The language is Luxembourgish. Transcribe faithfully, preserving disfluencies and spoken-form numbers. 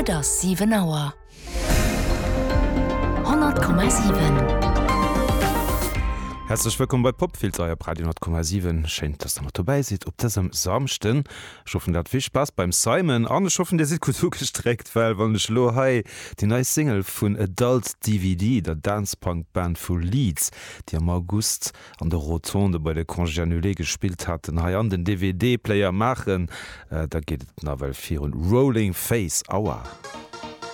Et ass siwen Auer. Honnert Komma siwen. Häerzlech wëllkomm bei Popfilter hei op Radio honnert Komma siwen. Schéin, dass der mat dobäi sidd op dësem Samschden. Ech hoffen, der hat vill Spaass beim Simon an ech hoffen, dir sidd gutt ugestréckt, well wann ech elo hei déi nei Single vun Adult DVD, der Dance-Punk-Band vu Leeds, déi am August an de Rotonde bei de Congés Annulés gespillt haten, hei an den DVD-Player maachen, da geet et nawell virun. Rolling Face, Aua!